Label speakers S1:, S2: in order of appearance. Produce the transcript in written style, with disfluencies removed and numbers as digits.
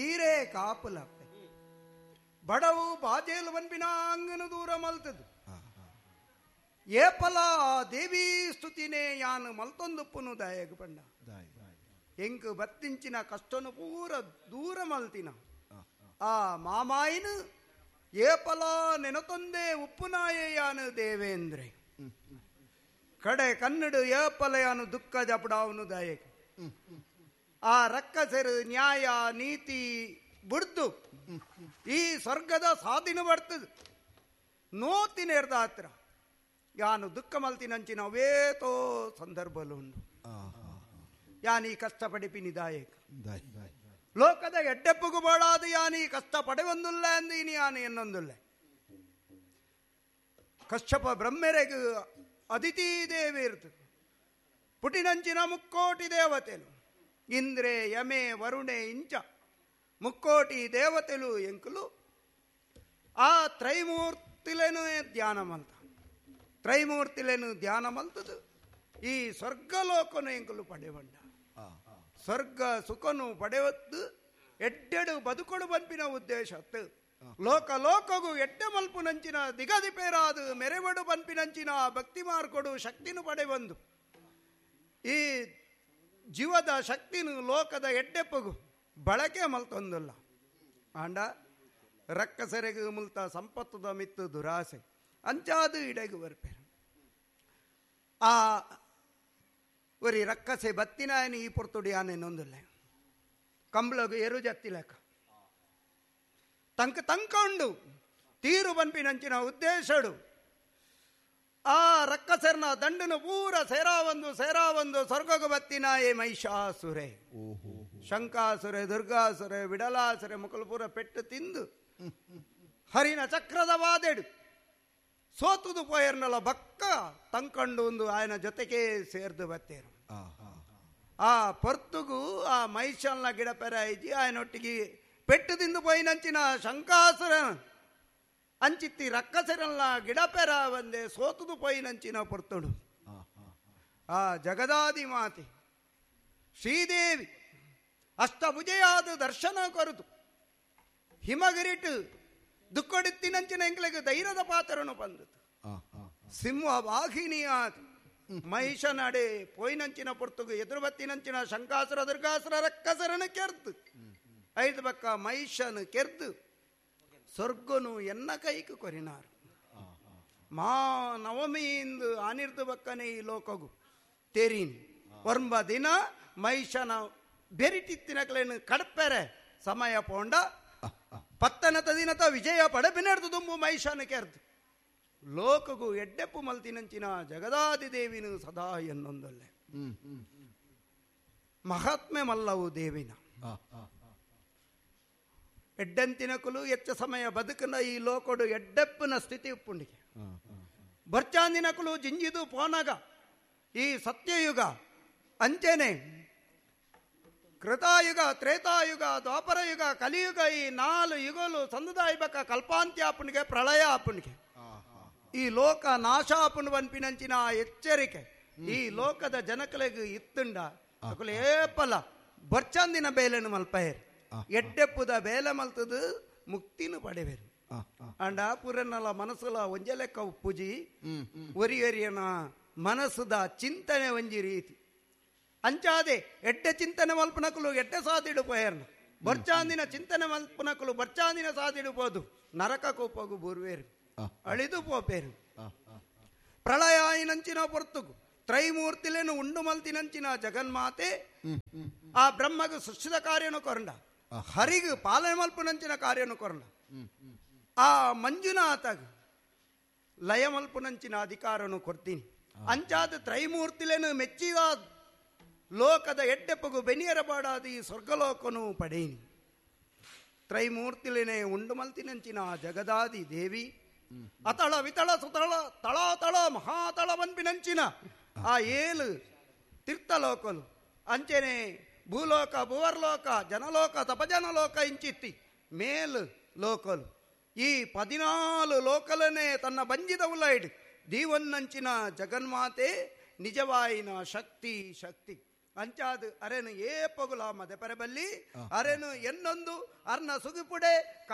S1: ಈರೇ ಕಾಪುಲಪ್ಪೆ ಬಡವು ಬಾಜೇಲು ಬನ್ಪಿನ ಅಂಗನು ದೂರ ಮಲ್ತದು ಏಪಲ ದೇವಿ ಸ್ತುತಿನೇ ಯಾನು ಮಲ್ತೊಂದುಪ್ಪುನು ದಾಯಗ ಪಂಡ ಎಂಕ್ ಬತ್ತಿಂಚಿನ ಕಷ್ಟನು ಪೂರ ದೂರ ಮಲ್ತಿನ ಆ ಮಾಮಾಯಿನ ಏಪಲ ನೆನತೊಂದೇ ಉಪ್ಪುನಾಯೇ ಯಾನು ದೇವೇಂದ್ರೆ ಕಡೆ ಕನ್ನಡ ಏಪಲ ಯಾನು ದುಃಖ ಜಪಡಾವನು ದಾಯಕ ಆ ರಕ್ಕಸರು ನ್ಯಾಯ ನೀತಿ ಬುಡ್ದು ಈ ಸ್ವರ್ಗದ ಸಾಧಿನ ಬರ್ತದೆ ನೋತಿನೇರ್ದ ಹತ್ರ ಯಾನು ದುಃಖ ಮಲ್ತಿನಂಚಿನ ಅವೇತೋ ಸಂದರ್ಭಲು ಉಂಡು ಯಾನ್ ಈ ಕಷ್ಟ ಪಡಿಪಿನಿ ದಾಯಕ ಲೋಕದ ಎಡ್ಡೆಪ್ಪುಗು ಬೋಳಾದು ಯಾನ್ ಈ ಕಷ್ಟ ಪಡೆವೊಂದುಲ್ಲ ಅಂದು ಇನಿ ಯಾನು ಎನ್ನೊಂದುಲ್ಲ ಕಶ್ಯಪ ಬ್ರಹ್ಮೆರೆಗು ಅದಿತಿ ದೇವಿ ಇರ್ತು ಪುಟಿನಂಚಿನ ಮುಕ್ಕೋಟಿ ದೇವತೆಲು ಇಂದ್ರೆ ಯಮೆ ವರುಣೆ ಇಂಚ ಮುಕ್ಕೋಟಿ ದೇವತೆಲು ಎಂಕುಲು ಆ ತ್ರೈಮೂರ್ತಿಲೇನು ಧ್ಯಾನ ಮಲ್ತ ತ್ರೈಮೂರ್ತಿಲೇನು ಧ್ಯಾನ ಮಲ್ತದು ಈ ಸ್ವರ್ಗಲೋಕನು ಎಂಕುಲು ಪಡೆವಂಡ ಸ್ವರ್ಗ ಸುಖನು ಪಡೆವತ್ತು ಎಡ್ಡೆಡು ಬದುಕೊಡು ಬನ್ಪಿನ ಉದ್ದೇಶ ಲೋಕ ಲೋಕಗೂ ಎಡ್ಡೆ ಮಲ್ಪುನಂಚಿನ ದಿಗದಿಪೇರಾದು ಮೆರೆವಡು ಬನ್ಪಿನಂಚಿನ ಭಕ್ತಿ ಮಾರ್ಕೊಡು ಶಕ್ತಿನು ಪಡೆವಂದು ಈ ಜೀವದ ಶಕ್ತಿನು ಲೋಕದ ಎಡ್ಡೆಪ್ಪಗು ಬಳಕೆ ಮಲ್ತೊಂದಲ್ಲ ಆಂಡ ರಕ್ಕಸೆರೆಗು ಮುಲ್ತ ಸಂಪತ್ತದ ಮಿತ್ತು ದುರಾಸೆ ಅಂಚಾದು ಇಡೆಗು ಬರ್ಪೇರು ಆ ಒರಿ ರಕ್ಕಸೆ ಬತ್ತಿನಾಯನ ಈ ಪೊರ್ತುಡಿ ಆನೆನ್ನೊಂದುಲ್ಲ ಕಂಬ್ಳಗು ಎರು ಜತ್ತಿಲೆಕ್ಕ ತಂಕ ತಂಕ ಉಂಡು ತೀರು ಬನ್ಪಿನಂಚಿನ ಉದ್ದೇಶಡು ಆ ರಕ್ಕಸೆರ್ನ ದಂಡನು ಪೂರ ಸೇರಾವಂದು ಸೇರಾವಂದು ಸ್ವರ್ಗಗು ಬತ್ತಿನಾಯೆ ಮಹಿಷಾಸುರೆ ಶಂಕಾಸುರೆ ದುರ್ಗಾಸುರೆ ವಿಡಲಾಸುರೆ ಮುಕುಲು ಪೂರ ಪೆಟ್ಟು ತಿಂದು ಹರಿನ ಚಕ್ರದ ವಾದೆಡು ಸೋತುದು ಪೋಯರ್ನಲ ಬಕ್ಕ ತಂಕಂಡು ಒಂದು ಆಯನ ಜೊತೆಗೆ ಸೇರ್ದು ಬತ್ತೇರು ಆ ಪೊರ್ತುಗು ಆ ಮಹಿಷಲ್ನ ಗಿಡ ಪೆರಾಯಿಜಿ ಆಯನೊಟ್ಟಿಗೆ ಪೆಟ್ಟು ತಿಂದು ಪೋಯಿನಂಚಿನ ಶಂಕಾಸುರ ಅಂಚಿತ್ತಿ ರಕ್ಕಸೆರಲ್ಲ ಗಿಡ ಪೆರ ಬಂದೆ ಸೋತುದು ಪೋಯಿನಂಚಿನ ಪೊರ್ತುಡು ಆ ಜಗದಾದಿ ಮಾತೆ ಶ್ರೀದೇವಿ ಅಷ್ಟಭುಜೆಯಾದ ದರ್ಶನ ಕೊರತು ಹಿಮಗಿರಿಟು ದುಕ್ಕೊಡಿತ್ತಿನಂಚಿನ ಎಂಕ್ಲೆಗ್ ಧೈರ್ಯದ ಪಾತ್ರನು ಬಂದತು ಸಿಂಹ ವಾಹಿನಿಯಾದ ಮಹಿಷನಡೆ ಪೋಯಿನಂಚಿನ ಪೊರ್ತುಗು ಎದುರುಬತ್ತಿನಂಚಿನ ಶಂಕಾಸುರ ದುರ್ಗಾಸುರ ರಕ್ಕಸರನು ಕೆರ್ದು ಐದು ಬಕ್ಕ ಮಹಿಷನು ಕೆರ್ದು ಸ್ವರ್ಗನು ಎನ್ನ ಕೈಕು ಕೊರಿನಾರು ಮಾ ನವಮಿಯಿಂದ ಆನಿರ್ದು ಬಕ್ಕನೆ ಈ ಲೋಕಗು ತೆರೀನ್ ಒರ್ಂಬ ದಿನ ಮಹಿಷನ ಬೆರಿಟಿತ್ತಿನಕ್ಲೇನು ಕಡ್ಪೆರೆ ಸಮಯ ಪೋಂಡ ಪತ್ತನತ ದಿನತ ವಿಜಯ ಪಡಪಿನೆಡ್ದು ದುಂಬು ಮಹಿಷನ ಕೆರ್ದು ಲೋಕಗು ಎಡ್ಡೆಪ್ಪು ಮಲ್ತಿನಂಚಿನ ಜಗದಾದಿ ದೇವಿನು ಸದಾ ಎನ್ನೊಂದೊಲ್ಲೆ ಮಹಾತ್ಮೆ ಮಲ್ಲವು ದೇವಿನ ಎಡ್ಡಂತಿನಕುಲು ಎಚ್ಚ ಸಮಯ ಬದುಕನ ಈ ಲೋಕಡು ಎಡ್ಡೆಪ್ಪನ ಸ್ಥಿತಿ ಉಪ್ಪುಂಡಿಗೆ ಬರ್ಚಾಂದಿನಕುಲು ಜಿಂಜಿದು ಪೋನಗ ಈ ಸತ್ಯಯುಗ ಅಂಚೆನೆ ಕೃತಾಯುಗ ತ್ರೇತಾಯುಗ ದ್ವಾಪರಯುಗ ಕಲಿಯುಗ ಈ ನಾಲು ಯುಗಲು ಸಂದದಾಯಿಬಕ ಕಲ್ಪಾಂತ್ಯಾಪನಿಗೆ ಪ್ರಳಯ ಆಪನಿಗೆ ಈ ಲೋಕ ನಾಶಾಪನ ಬನ್ಪಿನಂಚಿನ ಎಚ್ಚರಿಕೆ ಈ ಲೋಕದ ಜನಕಲೆಗ್ ಇತ್ತುಂಡ ಅಕುಲು ಏಪಲ ಬರ್ಚಂದಿನ ಬೇಲೆನು ಮಲ್ಪಯರ್ ಎಡ್ಡೆಪ್ಪುದ ಬೇಲೆ ಮಲ್ತದು ಮುಕ್ತಿನು ಪಡೆವೇರು ಅಂಡ ಪುರನಲ ಮನಸ್ಸುಲ ಒಂಜೆ ಲೆಕ್ಕ ಉಪ್ಪುಜಿ ಒರಿ ಒರಿಯನ ಮನಸ್ಸುದ ಚಿಂತನೆ ಒಂಜಿ ರೀತಿ ಅಂಚಾದೆ ಎಡ್ಡೆ ಚಿಂತನೆ ಮಲ್ಪನಕುಲು ಎಡ್ಡೆ ಸಾದಿಡು ಪೋಯರ್ನ ಬರ್ಚಾಂದಿನ ಚಿಂತನೆ ಮಲ್ಪನಕುಲು ಬರ್ಚಾಂದಿನ ಸಾದಿಡು ಪೋದು ನರಕ ಕೋಪಗು ಬೂರ್ವೇರು ಅಳಿದು ಪೋಪೇರು ಪ್ರಳಯ ಆಯಿನಂಚಿನ ಪೊರ್ತುಗು ತ್ರೈಮೂರ್ತಿಲೇನು ಉಂಡು ಮಲ್ತಿನಂಚಿನ ಜಗನ್ಮಾತೆ ಆ ಬ್ರಹ್ಮಗು ಸೃಷ್ಟಿದ ಕಾರ್ಯನು ಕೊರಂಡ ಹರಿಗು ಪಾಲನೆ ಮಲ್ಪುನಂಚಿನ ಕಾರ್ಯನು ಕೊರಂಡ ಆ ಮಂಜುನಾಥಗ್ ಲಯ ಮಲ್ಪುನಂಚಿನ ಅಧಿಕಾರನು ಕೊಡ್ತೀನಿ ಅಂಚಾದ ತ್ರೈಮೂರ್ತಿಲೇನು ಮೆಚ್ಚಿದ ಲೋಕದ ಎಡ್ಡೆಪ್ಪಗು ಬೆನಿಯರಬಾಡಾದ ಈ ಸ್ವರ್ಗಲೋಕನು ಪಡೇನಿ ತ್ರೈಮೂರ್ತಿಲೇನೆ ಉಂಡು ಮಲ್ತಿನಂಚಿನ ಜಗದಾದಿ ದೇವಿ ಅತಳ ವಿತಳ ಸುತಳ ತಳಾತಳ ಮಹಾತಳ ಬನ್ಪಿನಂಚಿನ ಆ ಏಳು ತೀರ್ಥಲೋಕಲು ಅಂಚೆನೆ ಭೂಲೋಕ ಭುವರ್ಲೋಕ ಜನಲೋಕ ತಪಜನಲೋಕ ಇಂಚಿತ್ತಿ ಮೇಲ್ ಲೋಕಲು ಈ 14 ಲೋಕಲನೆ ತನ್ನ ಬಂಜಿದ ಉಲೈಡ್ ದೀವನ್ನಂಚಿನ ಜಗನ್ಮಾತೆ ನಿಜವಾಯಿನ ಶಕ್ತಿ ಶಕ್ತಿ. ಅಂಚಾದ್ ಅರೆನು ಏಪಗುಲ ಮದೆಪರೆ ಬಲ್ಲಿ ಅರೆನು ಎನ್ನೊಂದು ಅರ್ನ ಸುಗಿಪುಡೆ.